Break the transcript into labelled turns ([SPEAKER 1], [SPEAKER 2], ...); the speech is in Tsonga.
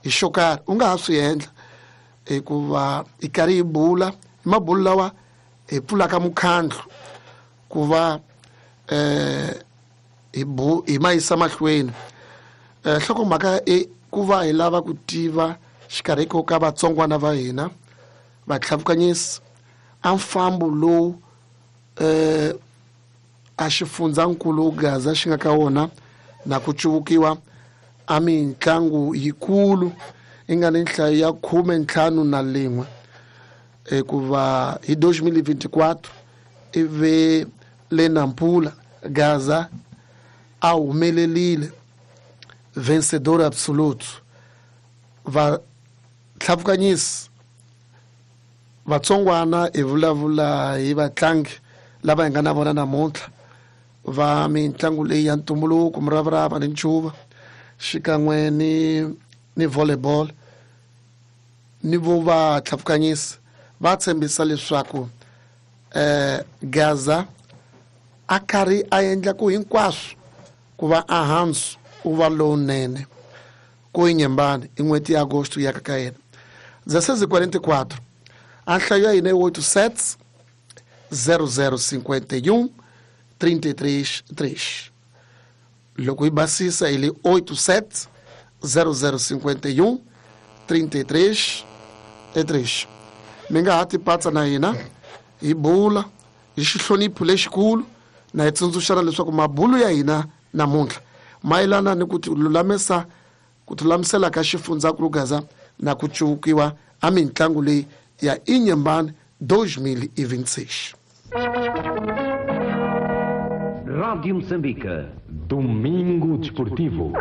[SPEAKER 1] Hi xo karhi u nga ha swi endla hikuva hi karhi hi bula hi mabulo lawa hi pfulaka mukhandlu ku va hi bu hi ma yisa mahlweni. Nhlokomhaka i ku va hi lava ku tiva xikarhi ko ka vatsongwana va hina vatlhavukanyisi a mfambo lowu a xifundzankulu Gaza xi nga ka wona na ku cuvukiwa a mitlangu yikulu yi nga ni nhlayo ya 51 hikuva hi 2024 ivi le Nampula Gaza a humelerile vencedor absoluto. Vatlhavukanyisi vatsongwana hi vulavula hi vatlangi lava hi nga na vona namuntlha va mitlangu leyi ya ntumbuluko, muravarava ni ncuva xikan'we ni volleyball ni vo vatlhavukanyisi va tshembisa leswaku Gaza a karhi a endla ku hinkwaswo ku va ahansi u va lowunene ku Inhambane i n'hweti ya Agosto ya ka yena 16:44 a nhlayo ya hina i 87 0051 33 3. Loko hi basisa hi le 87 0051 33 3. Mi nga ha tipatsa na hina hi bula hi xihlonipho lexikulu na hi tsundzuxana leswaku mabulo ya hina namuntlha mayelana ni ku tilulamisa ku tilulamisela ka xifundzankulu Gaza na ku cuvukiwa a mitlangu leyi ya Inhambane 2026.
[SPEAKER 2] Rádio Moçambique. Domingo Desportivo.